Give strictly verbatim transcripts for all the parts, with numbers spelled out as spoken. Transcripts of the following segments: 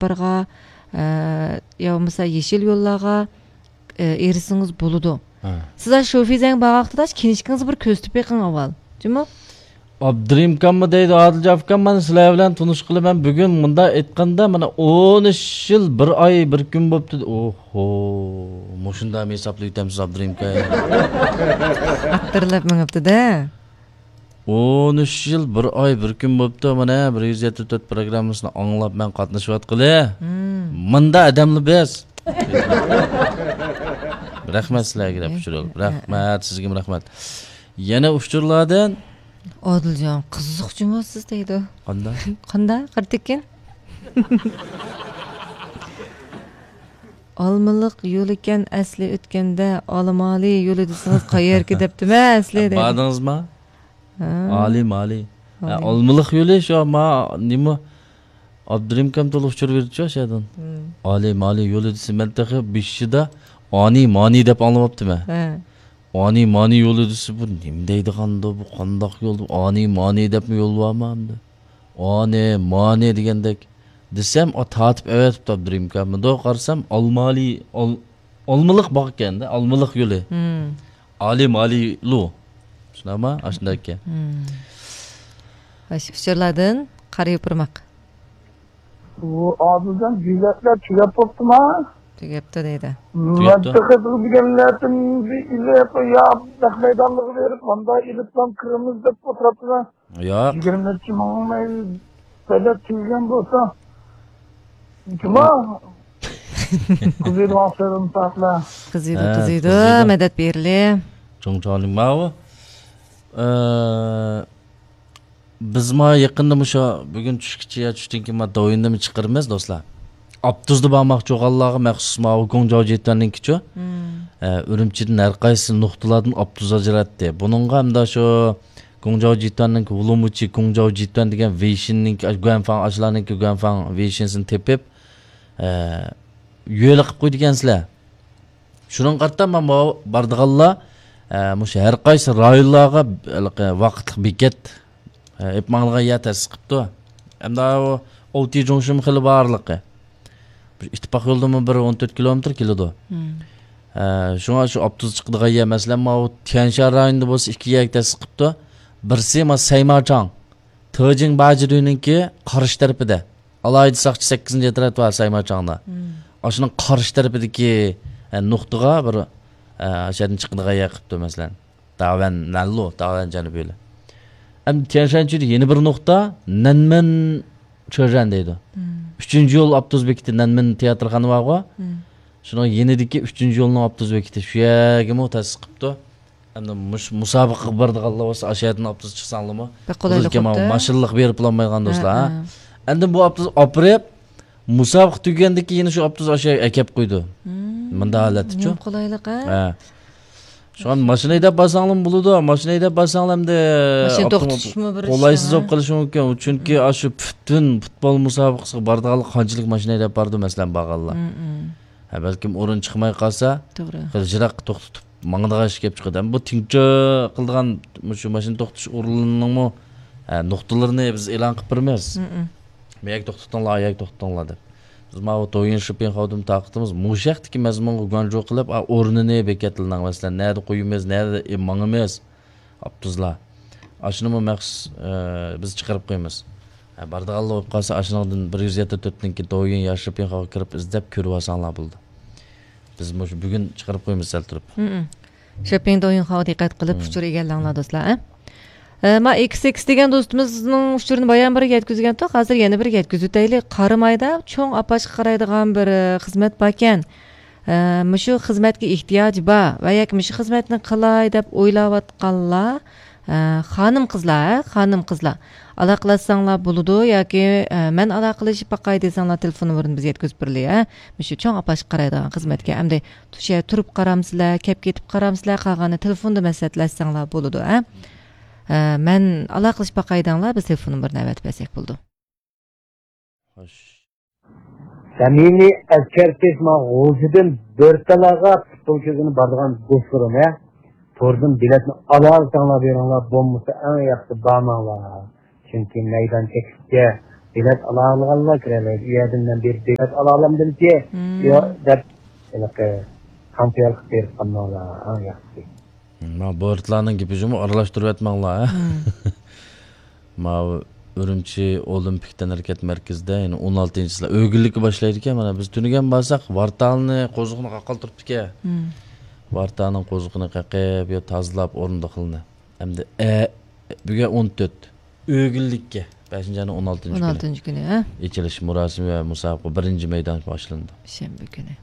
يوللارغا، ئە، يا بولمىسا يېشىل يوللارغا، ئە، ئېرىشسىڭىز بولىدۇ. ھە. سىز شۇ فىزەڭ بارغان ۋاقتىدا كىنىشكىڭىزنى بىر كۆزىتىپ بېقىڭ ئاۋۋال. جۇمۇ؟ ئابدۇرېھىم ئاكاممۇ دەيدۇ، ئادىلجان ئاكام، مانا سىلەر بىلەن تونۇشقىلى مەن بۈگۈن مۇنداق ئېيتقاندا، مانا ئون ئۈچ يىل، بىر ئاي، بىر كۈن بوپتۇ. ئوھو، مۇشۇنداقمۇ ھېسابلاپ يۈتەمسىز، ئابدۇرېھىم ئاكا؟ ئاقتۇرۇلۇپ مېڭىپتۇ-دە. ئون ئۈچ يىل، بىر ئاي، بىر كۈن بوپتۇ، مانا، بىر يۈز يەتتە تۆت پروگراممىسىنى ئاڭلاپ مەن قاتنىشىۋاتقىلى. مۇنداق ئادەملا بىز. رەھمەت سىلەرگە دەپ ئۇچۇر ئېلىپ. رەھمەت، سىزگىمۇ رەھمەت. يەنە ئۇچۇرلاردىن. ئادىلجان، قىزىق جۇمۇ سىز دەيدۇ. قانداق؟ قانداق؟ قارا تېكىن. ئالمىلىق يولىكەن ئەسلى ئۆتكەندە، ئالىمالى يولى دېسىڭىز قەيەركى دەپتىمەن ئەسلى دەيدۇ. باردىڭىزما؟ ھە. ئالىمالى. ھە، ئالىمالى. ئالمىلىق يولى شۇ ما نېمە؟ ئابدۇرېھىم ئاكام تولا ئۇچۇر بېرىدىچۇ ئاشۇ يەردىن. ئالىمالى يولى دېسە، مەن تېخى بېشىدا ئانى مانى دەپ ئاڭلاۋاپتىمەن. ھە. ئانى مانى يولى دېسە، بۇ نېمە دەيدىغاندۇ، بۇ قانداق يول دەپ، ئانى مانى دەپمۇ يول بارمۇ ئەمدى؟ ئانى مانى دېگەندەك دېسەم، ئا، تارتىپ ئەۋەتىپتۇ ئابدۇرېھىم ئاكا. مۇنداق قارىسام، ئالمالى، ئال-، ئالمىلىق باركەن-دە، ئالمىلىق يولى. ئالىمالىلۇ. شۇنداقما؟ ئاشۇنداق ئىكەن. ئاشۇ ئۇچۇرلاردىن قارا يوپۇرماق. بۇ ئادىلجان، بېلەتلەر تۈگەپ بوپتۇما؟ تۈگەپتۇ دەيدۇ. مەن تېخى بىر دېگەنلەردىن بىر ئېلىپ، يا نەق مەيدانلىققا بېرىپ، ماندا ئېلىپلا كىرىمىز دەپ ئولتۇرۇپتىمەن. ياق. يىگىرمە نەچچە مىڭ بېلەت تۈگىگەن بولسا، جۇما. قىزىيدىغان سۆزۈم ساقلا. قىزىيدۇ، ھە، قىزىيدۇ. قىزىيدۇ. مەدەت بېرىلى. چوڭ چوڭلىما ئۇ. ئە، بىز ما يېقىندا مۇشۇ بۈگۈن چۈشكىچە يا چۈشتىن كېيىن ما دوۋيىندىمۇ چىقىرىمىز، دوستلار. ئاپتوبۇستا بارماقچى بولغانلارغا مەخسۇس ماۋۇ گۇڭجاۋ جىتۈەننىڭكىچۇ. ئە، ئۈرۈمچىدىن ھەر قايسى نۇقتىلاردىن ئاپتوبۇس ئاجراتتى. بۇنىڭغا ئەمدى شۇ گۇڭجاۋ جىتۈەننىڭكى ۋۇلۇمۇچى، گۇڭجاۋ جىتۈەن دېگەن ۋېيشىننىڭكى، گۇەنفاڭ ئاشۇلارنىڭكى گۇەنفاڭ ۋېيشىنسىنى تېپىپ، ئە، يۆلە قىلىپ قويىدىكەنسىلەر. شۇنىڭغا قارىتا مانا بارىدىغانلار، ئە، مۇشۇ ھەر قايسى رايونلارغا ھېلىقى ۋاقىتلىق بېكەت، ئە، ئېلىپ ماڭىدىغان يەر تەسىس قىپتۇ. ئەمدى ئۇ ئوتى جۇڭشىمۇ خېلى بارلىقى. بىر ئىتتىپاق يولدىنمۇ بىر ئون تۆت كىلومېتىر كېلىدۇ. ئە، شۇڭا شۇ ئاپتوبۇس چىقىدىغان يەر، مەسىلەن، ماۋۇ تيەنشان رايونىدا بولسا ئىككى يەرگە تەسىس قىپتۇ. بىرسى ما سەيماچاڭ، تېجىڭ باجىدۈنىڭكى قارشى تەرىپىدە. ئالاھىدە ساقچى سەككىزىنچى ئەترەت بار سەيماچاڭدا. ئاشۇنىڭ قارشى تەرىپىدىكى، ئە، نۇقتىغا بىر، ئە، ئاشۇ يەردىن چىقىدىغان يەر قىپتۇ، مەسىلەن. داۋەن نەنلۇ، داۋەن جەنۇبىيلى. ئەمدى تيەنشانچۈدە يەنە بىر نۇقتا، نەنمېن چۆرەن دەيدۇ. ئۈچىنچى يول ئاپتوبۇس بېكىتى، نەنمېن تىياتىرخانا بارغۇ. شۇنىڭ يېنىدىكى ئۈچىنچى يولنىڭ ئاپتوبۇس بېكىتى. شۇ يەرگىمۇ تەسىس قىپتۇ. ئەمدى مۇش-، مۇسابىقىگە بارىدىغانلار بولسا، ئاشۇ يەردىن ئاپتوبۇس چىقساڭلارمۇ، بەك قولايلىق بولىدىكەن، بوپتۇ. ماشىنىلىق بېرىپلا بولالمايدىغان دوستلار، ھە، ھە. ئەمدى بۇ ئاپتوبۇس ئاپىرىپ، مۇسابىقە تۈگىگەندىن كېيىن شۇ ئاپتوبۇس ئاشۇ يەرگە ئەكەپ قويىدۇ. مۇنداق ھالەتتىچۇ؟ نېمە قولايلىق، ھە؟ ھە. شۇڭا ماشىنا ھەيدەپ بارساڭلارمۇ بولىدۇ. ماشىنا ھەيدەپ بارساڭلار ئەمدى ماشىنا توختىتىشمۇ بىر قولايسىز بولۇپ قېلىشى مۇمكىن. چۈنكى ئاشۇ پۈتۈن پۇتبول مۇسابىقىسىگە بارىدىغانلار قانچىلىك ماشىنا ھەيدەپ بارىدۇ، مەسىلەن، بارغانلار. ھە، بەلكىم ئورۇن چىقماي قالسا، توغرا، خېلى يىراققا توختىتىپ ماڭىدىغان ئىش كېلىپ چىقىدۇ. ئەمما بۇ تىڭچە قىلىدىغان مۇشۇ ماشىنا توختىتىش ئورۇنلىرىنىڭمۇ، ھە، نۇقتىلىرىنى بىز ئېلان قىلىپ بېرىمىز. بۇ يەرگە توختىتىڭلار، ئۇ يەرگە توختىتىڭلار دەپ. بىز ماۋۇ دويىن شىپىڭخاۋدىن تارقىتىمىز. مۇشۇ ھەقتىكى مەزمۇنغا گۇەنجۇ قىلىپ، ئا، ئورنىنى بېكەتلىنىڭ، مەسىلەن، نەدە قويىمىز، نەدە، ئى، ماڭىمىز. ئاپتوبۇسلار. ئاشۇنىمۇ مەخسۇس، ئە، بىز چىقىرىپ قويىمىز. ھە، بارىدىغانلار بولۇپ قالسا، ئاشۇنىڭدىن بىر يۈز يەتتە تۆتنىڭكى دويىن يا شىپىڭخاۋغا كىرىپ ئىزدەپ كۆرۈۋالساڭلار بولىدۇ. بىز مۇشۇ بۈگۈن چىقىرىپ قويىمىز سەل تۇرۇپ. شىپىڭ دويىنخاۋغا دىققەت قىلىپ ئۇچۇر ئىگىلەڭلار، دوستلار، ھە؟ ئە، ما ئېكس ئېكس دېگەن دوستىمىزنىڭ ئۇچۇرىنى بايام بىر يەتكۈزگەنتۇق، ھازىر يەنە بىر يەتكۈزۈۋېتەيلى. قارامايدا چوڭ ئاپاشقا قارايدىغان بىر، ئە، خىزمەت باركەن. ئە، مۇشۇ خىزمەتكە ئېھتىياجى بار ۋە ياكى مۇشۇ خىزمەتنى قىلاي دەپ ئويلاۋاتقانلار، ئە، خانىم قىزلار، ھە، خانىم قىزلار ئالاقىلەشسەڭلار بولىدۇ ياكى، ئە، مەن ئالاقىلىشىپ باقاي دېسەڭلار تېلېفون نومۇرىنى بىزگە يەتكۈزۈپ بېرىلى، ھە. مۇشۇ چوڭ ئاپاشقا قارايدىغان خىزمەتكە ئەمدى شۇ يەردە تۇرۇپ قارامسىلەر، كەپ كېتىپ قارامسىلەر، قالغاننى تېلېفوندا مەسلىھەتلەشسەڭلار بولىدۇ، ھە. ئە، مەن ئالاقىلىشىپ باقاي دەڭلار، بىز تېلېفون نومۇرىنى ئەۋەتىپ بەرسەك بولىدۇ. خوش. سەمىمىي ئەسكەرتىش، مانا غۇلجىدىن بۆرتالاغا پۇتبول كۆرگىلى بارىدىغان دوستلىرىم، ھە، توردىن بېلەتنى ئالالىساڭلار بېرىڭلار، بولمىسا ئەڭ ياخشىسى بارماڭلار. چۈنكى مەيدان چەكلىككە بېلەت ئالالىغانلار كىرەلەيدۇ. ئۇ يەردىن مەن بېرىپ بېلەت ئالالايمەن دېسە، مم، ياق دەپ، ھېلىقى قانپىيالىق بېرىپ قالماڭلار، ئەڭ ياخشىسى. مم، ما بورتلارنىڭ گېپى جۇمۇ ئارىلاشتۇرۇۋەتمەڭلار، ھە؟ مم. ماۋۇ ئۈرۈمچى ئولىمپىك تەنھەرىكەت مەركىزىدە يەنە ئون ئالتىنچى چىسلا ئۆگۈنلۈككە باشلايدىكەن. مانا بىز تۈنۈگۈن بارساق، ۋارتالنى، قوزۇقنى قاقال تۇرۇپتىكەن. مم. ۋارتالنىڭ قوزۇقىنى قېقىپ، يا تازىلاپ، ئورۇندۇقلىنى. ئەمدى، ئە، بۈگۈن ئون تۆت. ئۆگۈنلۈككە. بەشىنچى ئاينىڭ ئون ئالتىنچى كۈنى. ئون ئالتىنچى كۈنى، ھە؟ ئېچىلىش مۇراسىمى ۋە مۇسابىقە بىرىنچى مەيدان باشلىنىدۇ. شەنبە كۈنى.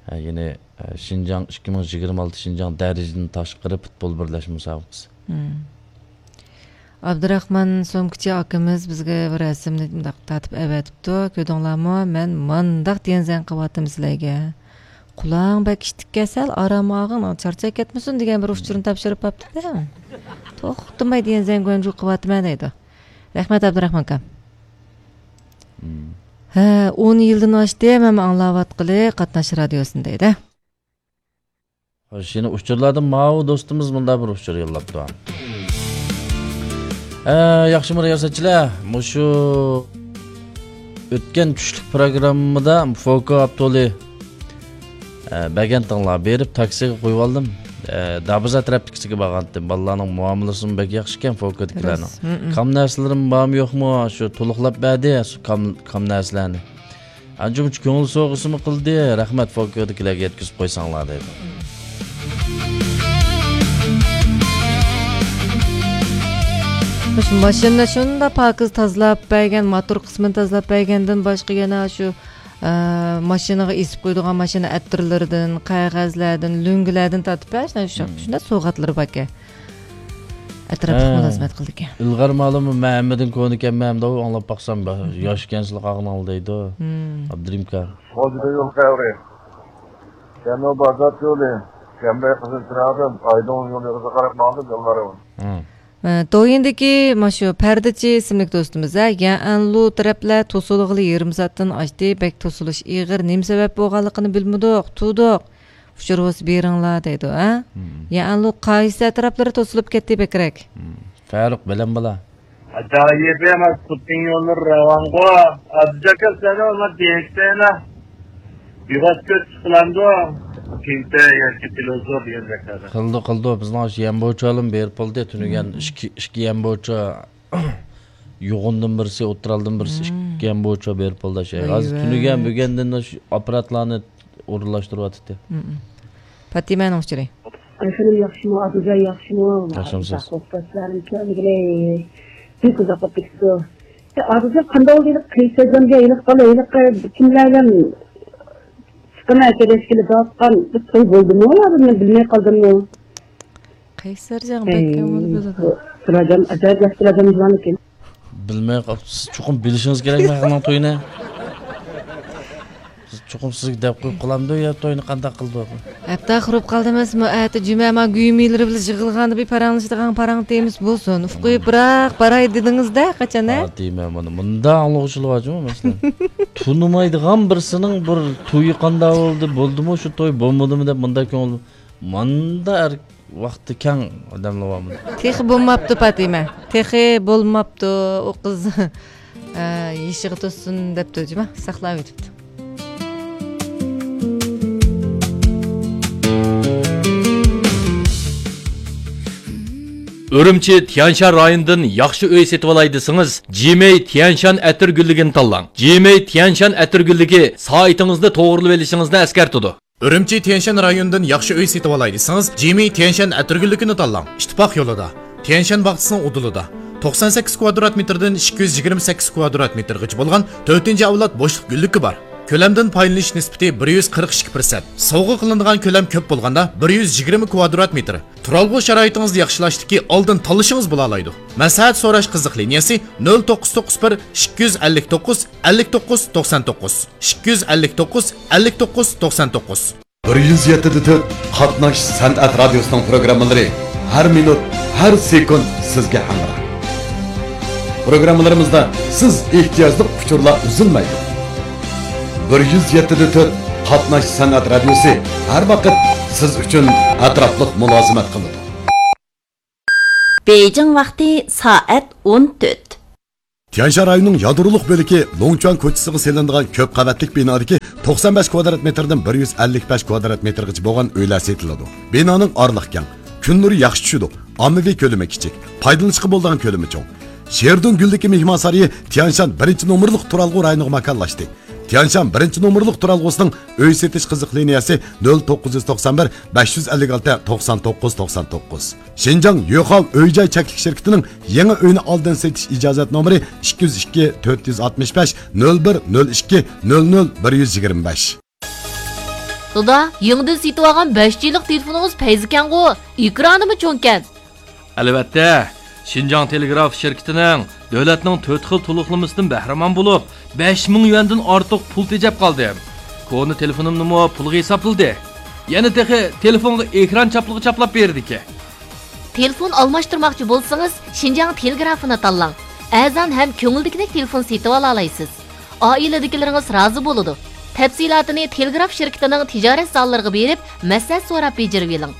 ھە، يەنى، ئە، شىنجاڭ ئىككى مىڭ يىگىرمە ئالتە شىنجاڭ دەرىجىدىن تاشقىرى پۇتبول بىرلەشمە مۇسابىقىسى. مم. ئابدۇراخمان سومكىچى ئاكىمىز بىزگە بىر رەسىمنى مۇنداق تارتىپ ئەۋەتىپتۇ. كۆردۈڭلارمۇ؟ مەن مانداق دېگەن زەڭ قىلىۋاتىمەن سىلەرگە. قۇلاڭ بەك ئىششىق كەسەل، ئارام ئالغىن، چارچاپ كەتمىسۇن دېگەن بىر ئۇچۇرنى تاپشۇرۇپ قاپتۇ-دە. توختىماي دېگەن زەڭگۇەنجۇ قىلىۋاتىمەن دەيدۇ. رەھمەت، ئابدۇراخمان ئاكام. مم. ھە، ئون يىلدىن ئاشتى، ھەممە ئاڭلاۋاتقىلى قاتناش رادىيوسىنى دەيدۇ. خوش، يەنە ئۇچۇرلاردىن ماۋۇ دوستىمىز مۇنداق بىر ئۇچۇر يوللاپتۇ. ئە، ياخشىمۇ رىياسەتچىلەر؟ مۇشۇ ئۆتكەن چۈشلۈك پروگراممىدا فوكو ئاپتولى، ئە، بەرگەنتىڭلار، بېرىپ تاكسىغا قويۇۋالدىم. ئە، دابىزا تەرەپتىكىسىگە بارغانتىم. بالىلارنىڭ مۇئامىلىسىمۇ بەك ياخشىكەن فوكودىكىلەرنىڭ. راست. ھمم. كام نەرسىلىرىم بارمۇ يوقمۇ، شۇ تولۇقلاپ بەردى، شۇ كام، كام نەرسىلەرنى. ئانچە-مۇنچە كۆڭۈل سوۋغىسىمۇ قىلدى، رەھمەت، فوكودىكىلەرگە يەتكۈزۈپ قويساڭلار دەيدۇ. مۇشۇ ماشىنىنى شۇنداق پاكىز تازىلاپ بەرگەن، موتور قىسمىنى تازىلاپ بەرگەندىن باشقا يەنە شۇ، ئە، ماشىنىغا ئېسىپ قويىدىغان ماشىنا ئەتىرلىرىدىن، قەغەزلەردىن، لۆڭگىلەردىن تارتىپ، ھە، شۇنداق، مم، شۇنداق سوۋغاتلىرى باركەن. ئەتراپلىق، ھە، مۇلازىمەت قىلىدىكەن. ئىلغار مالىمۇ مەن ھەممىدىن كونىكەنمەن، ئەمدى ئاڭلاپ باقسام، مم، ياش ئىكەنسىلەر قاغىنىڭلار دەيدۇ. مم. ئابدۇرېھىم ئاكا. غوجىدا يول خەۋىرى. شەنبە بازار يولى، شەنبە قىزىل چىراغدىن ئايدىڭ يولىغا قاراپ ماڭدىم يوللارغا. مم. ئە، دويىندىكى ماشۇ پەردىچى ئىسىملىك دوستىمىز، ھە، يەنلۇ تەرەپلەر توسۇلغىلى يېرىم سائەتتىن ئاشتى، بەك توسۇلۇش ئېغىر، نېمە سەۋەب بولغانلىقىنى بىلمىدۇق، تۇردۇق. ئۇچۇر بولسا بېرىڭلار دەيدۇ، ھە؟ مم. يەنلۇ قايسى ئەتراپلىرى توسۇلۇپ كەتتى بەكرەك؟ مم. فاروق، بىلەم بالا. ئاجايىپ ئەمەس، پۇتنىڭ يوللىرى راۋانغۇ. ئابدۇجاكا سەنە ئۇلار دېيەكسەنە. يوغاچ كۆز چىقىلامدۇ؟ كېڭتە ياكى پىلوزور دېگەن زاكازى. قىلدى، قىلدى. بىزنىڭ شۇ يەنبوچالىم بېرىپ بولدى. تۈنۈگۈن، مم، ئىككى، ئىككى يەنبوچا يوغۇندىن بىرسى، ئوتتۇرالدىن بىرسى، مم، ئىككى يەنبوچا بېرىپ بولدى. ۋاي ھازىر ۋاي. تۈنۈگۈن، بۈگۈندىن شۇ ئاپپاراتلارنى ئورۇنلاشتۇرۇۋاتىدۇ. مم. پاتىمەنىڭ ئۇچۇرى. ئايخېنىم ياخشىمۇ، ئابدۇزا ياخشىمۇ؟ ياخشىمۇسىز؟ ساق بولۇپ، سىلەرنى كۆرمىگىلى بەك ئۇزاق بولۇپ كېتىپتۇ. ئابدۇزا قانداق بولدى؟ قەيسەرجانغا ھېلىقى بالا، ھېلىقى كىملەر بىلەن چىقىمەن، كېلىشكىلى باراتقان بىر توي بولدىمۇ يا بىلمەي قالدىممۇ؟ قەيسەرجان بەك يامان بولىدۇ. سىراجان ئاجايىپ ياخشى سىراجان جۇۋان ئىكەن. بىلمەي قاپسىز، چوقۇم بىلىشىڭىز كېرەك مەن ئۇنىڭ تويىنى. بىز چوقۇم سىزگە دەپ قويۇپ قالامدۇ يا توينى قانداق قىلىدۇ؟ ھەپتە قۇرۇپ قالدى ئەمەسمۇ، ئەتە جۈمە ما گۈيمىلىرى بىلەن يىغىلغاندا بىر پاراڭلىشىدىغان پاراڭ تېمىسى بولسۇن. ئۇفقۇيۇپراق باراي دېدىڭىز-دە قاچان، ھە؟ پاتىمە، مانا مۇنداق ئاڭلىغۇچىلار بارجۇمۇ مەسىلەن. تونۇمايدىغان بىرسىنىڭ بىر تويى قانداق بولدى، بولدىمۇ شۇ توي، بولمىدىمۇ دەپ مۇنداق كۆڭۈل، مۇنداق ئەر-، ۋاقتى كەڭ ئادەملەر بارمۇ؟ تېخى بولماپتۇ پاتىمە. تېخى بولماپتۇ. ئۇ قىز، ئە، يېشىغا توشسۇن دەپتۇ جۇما. ساقلاۋېتىپتۇ. ئۈرۈمچى تيەنشان رايونىدىن ياخشى ئۆي سېتىۋالاي دېسىڭىز، جىمەي تيەنشان ئەتىر گۈللۈكىنى تاللاڭ. جىمەي تيەنشان ئەتىر گۈللۈكى سائىتىڭىزنى توغرىلىۋېلىشىڭىزنى ئەسكەرتىدۇ. ئۈرۈمچى تيەنشان رايونىدىن ياخشى ئۆي سېتىۋالاي دېسىڭىز، جىمى تيەنشان ئەتىرگۈللۈكىنى تاللاڭ. ئىتتىپاق يولىدا، تيەنشان باغچىسىنىڭ ئۇدۇلىدا، توقسان سەككىز كۋادرات مېتىردىن ئىككى يۈز يىگىرمە سەككىز كۋادرات مېتىرغىچە بولغان تۆتىنچى ئەۋلاد بوشلۇق گۈللۈكى بار. كۆلەمدىن پايدىلىنىش نىسبىتى بىر يۈز قىرىق ئىككى پىرسەنت. سوۋغا قىلىنىدىغان كۆلەم كۆپ بولغاندا، بىر يۈز يىگىرمە كۋادرات مېتىر. تۇرالغۇ شارائىتىڭىزنى ياخشىلاشتىكى ئالدىن تاللىشىڭىز بولالايدۇ. مەسلىھەت سوراش قىزىق لىنىيەسى نۆل توققۇز توققۇز بىر، ئىككى يۈز ئەللىك توققۇز، ئەللىك توققۇز توقسان توققۇز، ئىككى يۈز ئەللىك توققۇز، ئەللىك توققۇز توقسان توققۇز. بىر يۈز يەتتە دە تۆت قاتناش سەنئەت رادىيوسىنىڭ پروگراممىلىرى ھەر مىنۇت، ھەر سېكۇنت سىزگە ھەمراھ. پروگراممىلىرىمىزدا سىز ئېھتىياجلىق ئۇچۇرلار ئۈزۈلمەيدۇ. بىر يۈز يەتتە دە تۆت قاتناش سەنئەت رادىيوسى ھەر ۋاقىت سىز ئۈچۈن ئەتراپلىق مۇلازىمەت قىلىدۇ. بېيجىڭ ۋاقتى سائەت ئون تۆت. تيەنشان رايونىنىڭ يادرولۇق بۆلىكى لوڭچۈەن كوچىسىغا سېلىنىدىغان كۆپ قەۋەتلىك بىنادىكى توقسان بەش كۋادرات مېتىردىن بىر يۈز ئەللىك بەش كۋادرات مېتىرغىچە بولغان ئۆيلەر سېتىلىدۇ. بىنانىڭ ئارىلىقى كەڭ، كۈن نۇرى ياخشى چۈشىدۇ، ئاممىۋى كۆلىمى كىچىك، پايدىلىنىشقا بولىدىغان كۆلىمى چوڭ. شېردۇڭ گۈلدىكى مېھمانسارىيى تيەنشان بىرىنچى نومۇرلۇق تۇرالغۇ رايونىغا ماكانلاشتى. تيەنشان بىرىنچى نومۇرلۇق تۇرالغۇسىنىڭ ئۆي سېتىش قىزىق لىنىيەسى نۆل توققۇز يۈز توقسان بىر، بەش يۈز ئەللىك ئالتە، توقسان توققۇز، توقسان توققۇز. شىنجاڭ يۆخاۋ ئۆي جاي چەكلىك شىركىتىنىڭ يېڭى ئۆينى ئالدىن سېتىش ئىجازەت نومۇرى ئىككى يۈز ئىككى، تۆت يۈز ئاتمىش بەش، نۆل بىر، نۆل ئىككى، نۆل نۆل، بىر يۈز يىگىرمە بەش. دادا، يېڭىدىن سېتىۋالغان بەش جى لىق تېلېفونىڭىز پەيزى ئىكەنغۇ؟ ئېكرانىمۇ چوڭكەن. ئەلۋەتتە، شىنجاڭ تېلېگراف شىركىتىنىڭ دۆلەتنىڭ تۆت خىل تولۇقلىمىسىدىن بەھرىمەن بولۇپ، بەش مىڭ يۈەندىن ئارتۇق پۇل تېجەپ قالدىم. كونا تېلېفونۇمنىمۇ پۇلغا ھېسابلىدى. يەنە تېخى تېلېفونغا ئېكران چاپلىغۇچى چاپلاپ بېرىدىكەن. تېلېفون ئالماشتۇرماقچى بولسىڭىز، شىنجاڭ تېلېگرافىنى تاللاڭ. ئەرزان ھەم كۆڭۈلدىكىدەك تېلېفون سېتىۋالالايسىز. ئائىلىدىكىلىرىڭىز رازى بولىدۇ. تەپسىلاتىنى تېلېگراف شىركىتىنىڭ تىجارەت زاللىرىغا بېرىپ، مەسلىھەت سوراپ بېجىرىۋېلىڭ.